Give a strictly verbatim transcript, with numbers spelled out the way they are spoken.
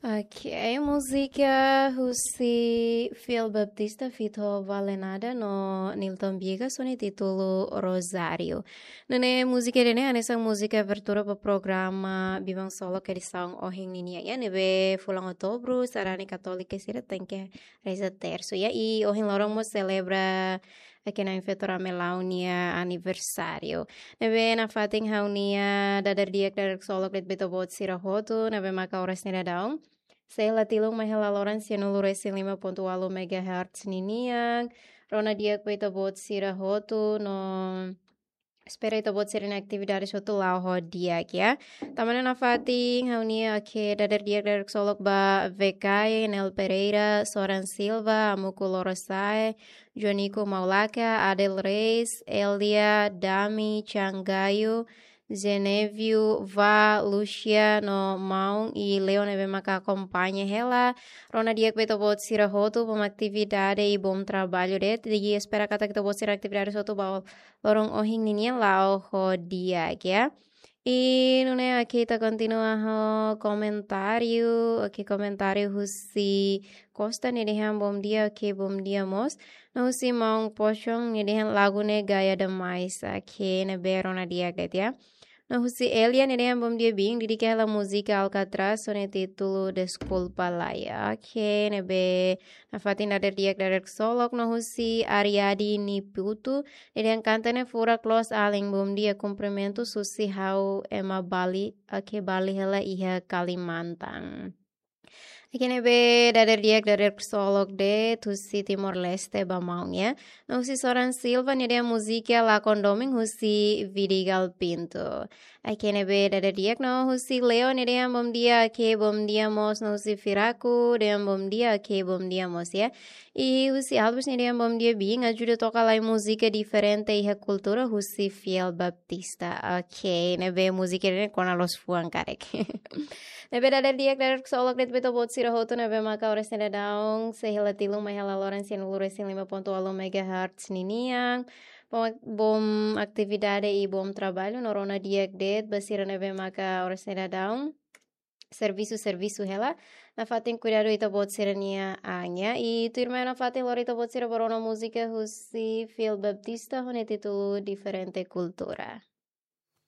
Ok, múzika husi Fiel Baptista feat Vale Nada no Nilton Viegas ho nia títulu Rosário. Nune'e múzika ida-ne'e hanesan múzika abertura ba programa Biban Ksolok edisaun ohin ninian, ya, ne'ebé fulan Outubru sarani katólika sira tenke reza tersu, ya, i ohin loron mós selebra Akina Infeto Ramelau nia aniversáriu. Ne'ebé nafatin ha'u-nia dadeer di'ak, dadeer ksolok de'it ba ita-boot sira hotu ne'ebé maka oras ne'e daudaun. Sei la tilun mai hela loron sianulu resin lima pontu ualu megahertz ninian. Rona di'ak ba ita-boot sira hotu no espera ita-boot sira-nia atividade hotu la'o ho di'ak, ya. Tanba ne'e nafatin ha'u-nia, oke, dadeer di'ak, dadeer ksolok ba V K, Nel Pereira, Soran Silva, Amuku Lorosa'e, Jonico Maulaka, Adel Reis, Elia, Dami, Changayo, Genevio, Va, Lucia, no Maun i Leo ne'ebé maka akompaña hela. Rona di'ak ba ita-boot sira hotu, bom atividade i bom trabalho de'it. I espera katak ita-boot sira-nia atividade hotu ba loron ohin ninian la'o ho di'ak, ya. I nune'e oke, ita kontinua ho komentáriu. Oke, komentáriu husi Costa, nia dehan bom dia, oke, bom dia mós. No husi Maun Pochon, nia dehan lagu ne'e gaya demais, oke, ne'ebé rona di'ak de'it, ya. No husi Elia, nia dehan bom dia biin, dedika hela múzika Alcatraz ho nia títulu Deskulpa Lae, oke, ne'ebé nafatin dadeer di'ak, dadeer ksolok. No husi Ariadi Niputu, nia dehan kanta ne'e furak loos alin, bom dia, kumprimentus husi ha'u ema Bali, oke, Bali hela iha Kalimantan. Oke, ne'ebé dadeer di'ak, dadeer ksolok de'it husi Timor-Leste ba maun, ya. No husi Soran Silva, nia dehan múzika Lakon Domin husi Vidigal Pinto. Oke, ne'ebé dadeer di'ak. No husi Leo, nia dehan bom dia, oke, bom dia mós. No husi Firaku, dehan bom dia, oke, bom dia mós, ya. I husi Albus, nia dehan bom dia biin, ajuda toka lai múzika diferente iha kultura husi Fiel Baptista. Oke, ne'ebé múzika ne'e kona loos fuan karik. Ne'ebé dadeer di'ak, dadeer ksolok de'it ba ita-boot sira hotu ne'ebé maka oras ne'e daudaun sei la tilun mai hela loron sianulu resin lima pontu ualu megahertz ninian. Bom, bom atividade i bom trabalho, no rona di'ak de'it ba sira ne'ebé maka oras ne'e daudaun servisu, servisu hela. Nafatin kuidadu ita-boot sira-nia an, ya. I tuirmai nafatin lori ita-boot sira ba rona múzika husi Fiel Baptista ho nia títulu Diferente Kultura.